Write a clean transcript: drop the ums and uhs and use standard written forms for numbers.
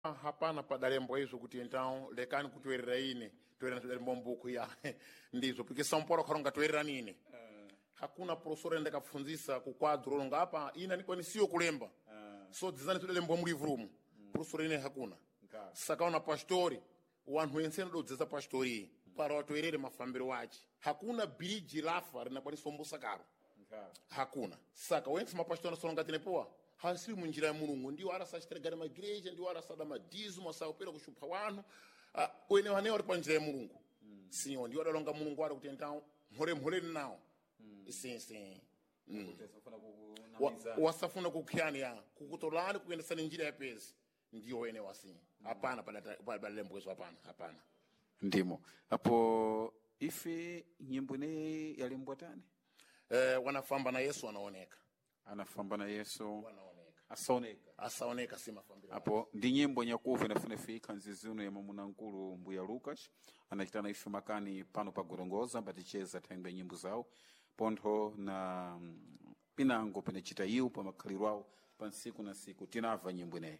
Hapana padalembwa izvo kuti então lekani kutoerera ine toerera zvidalembwa mbuku ya ndizvo porque São Paulo karonga toererani ine. Hakuna professor ndakapfunzisa kukwadro longa apa ina nikwanisiyo kulemba so dzizani zvidalembwa mulivru umu professor ine hakuna. Sakaona pastori wanhu ense anododzesa pastori para watoerere mafambiro wache. Hakuna bhiriji lafa rinakwanisa ombosa karo, hakuna. Saka wense mapastori anasonga tinepowa hasiri munjira ya Mulungu, ndiwo arasachiteregana magireja, ndiwo arasada madhizo masakupera kushupha wanhu. Wene wanewo ari panjira ya Mulungu sinyo ndiwo adalonga Mulungu ari kuti entawo mhoremhoreni nawo isinsi wasafuna kukhiyani ya kukutolani kuyendesani njira ya pezi, ndiyo wene wasi hapana padalembwezo, hapana, hapana. Ndimo apo ife nyimbo ineyi yalembwa tani? Wanafamba na Yesu wanaoneka. Anafamba na Yesu wanaoneka asaoneka. Asaoneka si mafambiro. Apo ndi nyimbo nyakuva inafuna ifika nziziuno ya mwamuna-nkulu mbuya Lucas anachitana ife makani pano pa Gorongoza ambaticheza thangwe nyimbo zawo pontho na pinango pinachita iwo pa makhaliro awo pa nsiku na nsiku tinamva nyimbo ineyi.